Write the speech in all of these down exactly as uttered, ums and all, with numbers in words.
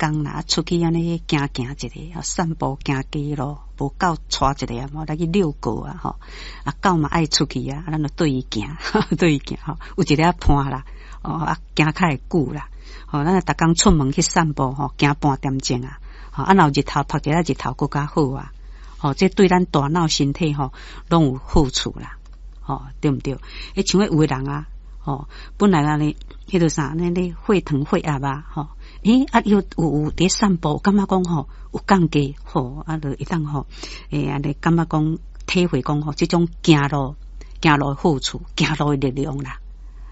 工啦，出去按呢行行一下，散步行街路，無狗帶一下啊，來去遛狗啊，吼，啊狗嘛愛出去啊，咱就綴伊行，綴伊行吼，有一个伴啦，哦啊行較會久啦，吼，咱逐工出門去散步吼，行半點鐘啊，吼啊若有日頭曬一下日頭閣較好啊，吼，這對咱大腦身體吼攏有好處啦，吼，對毋對？欸，像彼有的人啊，吼，本來按呢，彼个啥，那咧血糖血壓啊，吼，欸啊有有有佇散步，感覺講吼有降低，吼啊就會當吼，欸按呢感覺講體會講吼，這種行路行路的好處，行路的力量啦。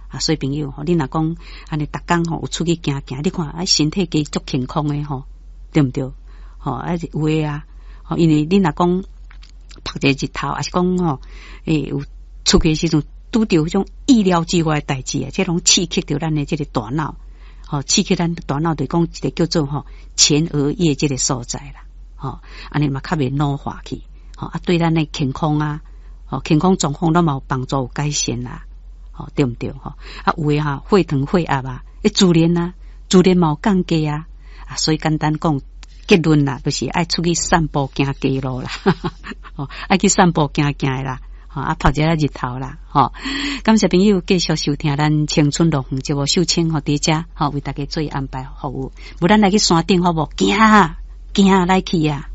啊，所以朋友吼，你若講按呢逐工吼有出去行行，你看啊身體加足健康的吼，對毋對？吼啊有的啊，吼因為你若講曬一個日頭，抑是講吼，欸有出去的時陣拄著彼種意料之外的代誌啊，這攏刺激著咱的這個大腦，吼刺激咱大腦，就講一個叫做吼前額葉這個所在啦，吼按呢嘛較袂老化去，吼啊對咱的健康啊，吼健康狀況攏嘛有幫助有改善啦，吼對毋對？吼啊有的哈血糖血壓啊，欸自然啊，自然嘛有降低啊，啊所以簡單講結論啦，就是愛出去散步行街路啦，吼愛去散步行行的啦。吼啊，曬一下日頭啦，吼！感謝朋友繼續收聽咱青春樂園節目，秀清吼佇遮吼為大家做安排服務。無咱來去山頂好無？行行來去啊！